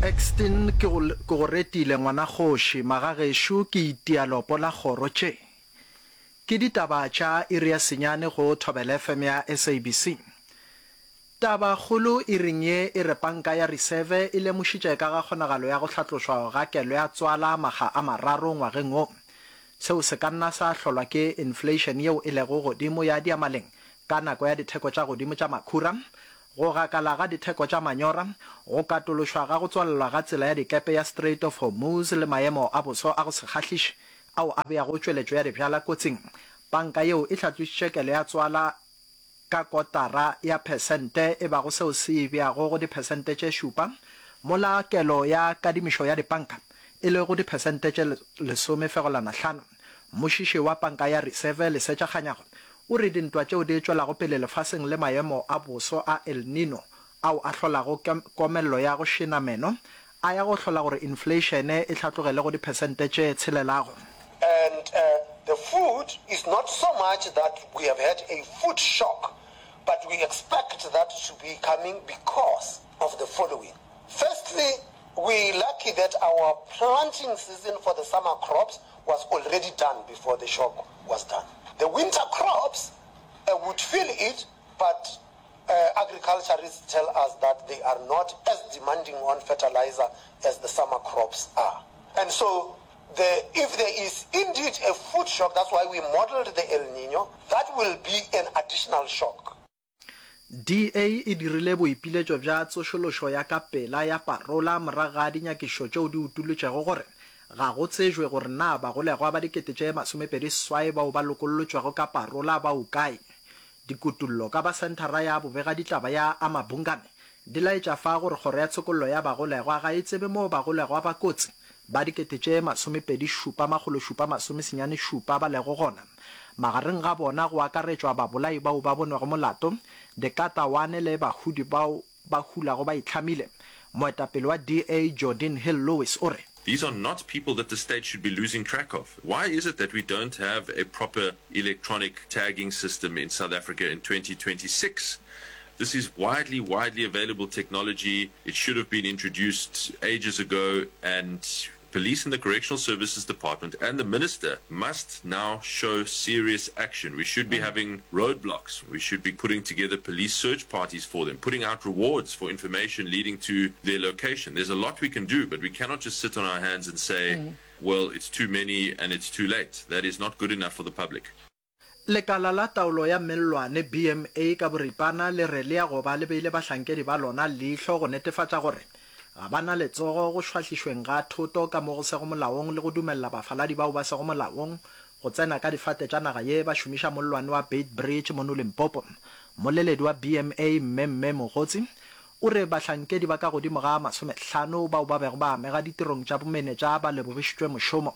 Exton ke go ke go retile ngwana kgoši magagešo ke itia lopo la kgoro tše ke ditaba tša iri ya senyane go Thobela FM ya SABC. Taba kgolo iring ye e re panka ya Riseve e lemošitše ka ga kgonagalo ya go hlatlošwa ga kelo ya tswala makga a mararo ngwageng wo. Seo se ka nna sa hlolwa ke inflation yeo e lego godimo ya diamaleng ka nako ya ditheko tša godimo tša makhura, go gakala ga ditheko tša manyora, go katološwa ga go tswalelwa ga tsela ya dikepe ya Strait of Hormuz le maemo a boso a go se kgahliše ao a beago tšweletšo ya dibjala kotsing. Panka yeo e hlatlošitše kelo ya tswala ka kotara ya phesente e bago seo se e beago go diphesente tše šupa, mola kelo ya kadimišo ya dipanka e le go diphesente tše lesomefegolana hlano. Mmušiši wa Panka ya Riseve, Lesetša Kganyago, o re dintwa tšeo di tšwelago pele lefaseng le maemo a boso a El Nino ao a hlolago komello ya go šena meno a ya go hlola gore infleišene e hlatlogele go diphesente tše tshelelago. And the food is not so much that we have had a food shock, but we expect that to be coming because of the following. Firstly, we lucky that our planting season for the summer crops was already done before the shock was done. The winter crops uh, would feel it, but uh, agriculturists tell us that they are not as demanding on fertilizer as the summer crops are. And so the, if there is indeed a food shock, that's why we modeled the El Nino, that will be an additional shock. DA e dirile boipiletšo bja tsošološo ya ka pela ya parola morago ga dinyakišišo tšeo di utolotšego gore ga go tsejwe gore na bagolegwa ba 28,000 bao ba lokollotšwego ka parola ba okae. Dikutullo ka ba Senthara ya Bobegaditlaba ya Amabungane di laetša fa gore Kgoro ya Tshokollo ya Bagolegwa ga e tsebe moo bagolegwa ba kotsi ba 27,797 ba lego gona. Magareng ga bona go akaretšwa babolai bao ba bonwego molato, dikatawane le bahudi bao ba hulago ba itlhamile. Moetapele wa DA Geordin Hill-Lewis o re. These are not people that the state should be losing track of. Why is it that we don't have a proper electronic tagging system in South Africa in 2026? This is widely, widely available technology. It should have been introduced ages ago and Police and the Correctional Services Department and the minister must now show serious action. We should be having roadblocks. We should be putting together police search parties for them, putting out rewards for information leading to their location. There's a lot we can do, but we cannot just sit on our hands and say, mm. well, it's too many and it's too late. That is not good enough for the public. Lekala la Taolo ya Mellwane, BMA, ka boripana le re le ya go ba le beile bahlankedi ba lona leihlo go netefatša gore ga ba na letsogo go šwahlišweng ga thoto ka mo go sego molaong le go dumelela bafaladi bao ba sego molaong go tsena ka difate tša naga ye ba šomiša mollwane wa Beitbridge mono Limpopo. Mmoleledi wa BMA, Mme Mme Mogotsi, o re bahlankedi ba ka godimo ga masomehlano bao ba bego ba amega ditirong tša bomenetša ba lebogišitšwe mošomo.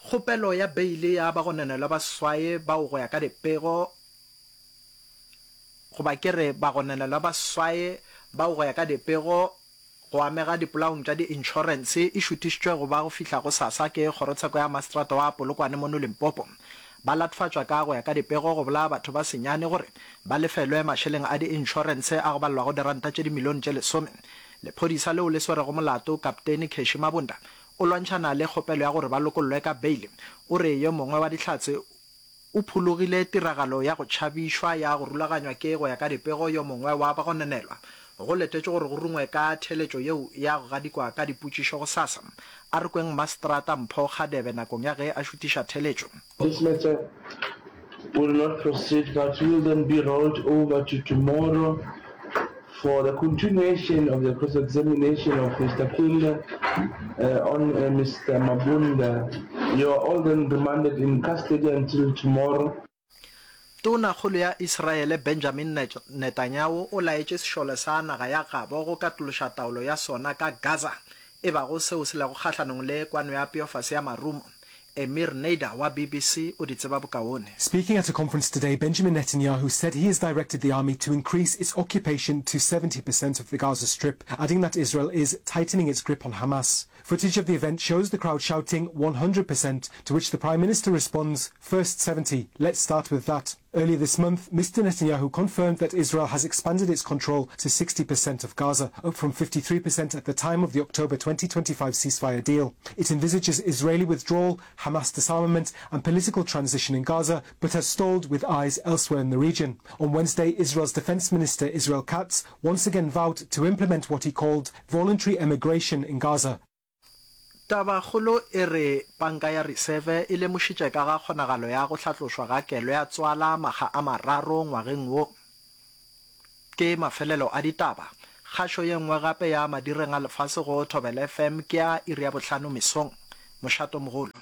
Kgopelo ya beile ya bagononelwa ba seswai bao go ya ka dipego goba ke re bagononelwa ba seswai bao go ya ka dipego go amega dipolaong tša diinšorense e šuthišitšwe go ba go fihla gosasa ke kgorotsheko ya maseterata wa Polokwane mono Limpopo. Ba latofatšwa ka go ya ka dipego go bolaya batho ba senyane gore ba lefelwe mašeleng a diinšorense a go balelwago diranta tše dimilione tše lesome. Lephodisa leo le swerego molato, Kapteine Cashy Mabunda, O lwantšhana le kgopelo ya gore ba lokollwe ka beile. O re yo mongwe wa Dihlatse o phologile tiragalo ya go tšhabišwa ya go rulaganywa ke go ya ka dipego yo mongwe wa bagononelwa. Go letetšwe gore go rungwe ka theeletšo yeo ya go gadikwa ka dipotšišo gosasa. A re kweng Maseterata Mpho Kgadebe nakong ya ge a šutiša theeletšo. This matter will not proceed but will then be rolled over to tomorrow for the continuation of the cross-examination of Mr Kwinda uh, on uh, Mr Mabunda. You are all then remanded in custody until tomorrow. Tonakgolo ya Israele Benjamin Netanyahu o laetše sešole sa naga ya gabo go katološa taolo ya sona ka Gaza, e bago seo se lego kgahlanong le kwano ya peofase ya marumo. Emir Nader wa BBC o di tseba bokaone. Speaking at a conference today, Benjamin Netanyahu said he has directed the army to increase its occupation to 70% of the Gaza Strip, adding that Israel is tightening its grip on Hamas. Footage of the event shows the crowd shouting 100%, to which the Prime Minister responds, First 70, let's start with that. Earlier this month, Mr Netanyahu confirmed that Israel has expanded its control to 60% of Gaza, up from 53% at the time of the October 2025 ceasefire deal. It envisages Israeli withdrawal, Hamas disarmament and political transition in Gaza, but has stalled with eyes elsewhere in the region. On Wednesday, Israel's defense minister Israel Katz once again vowed to implement what he called voluntary emigration in Gaza. Tabakgolo e re Panka ya Riseve e lemošitše ka ga kgonagalo ya go hlatlošwa ga kelo ya tswala makga a mararo ngwageng wo. Ke mafelelo a ditaba. Kgašo ye nngwe gape ya madireng a lefase go Thobela FM ke ya iri ya bohlano mesong. Mošatomogolo.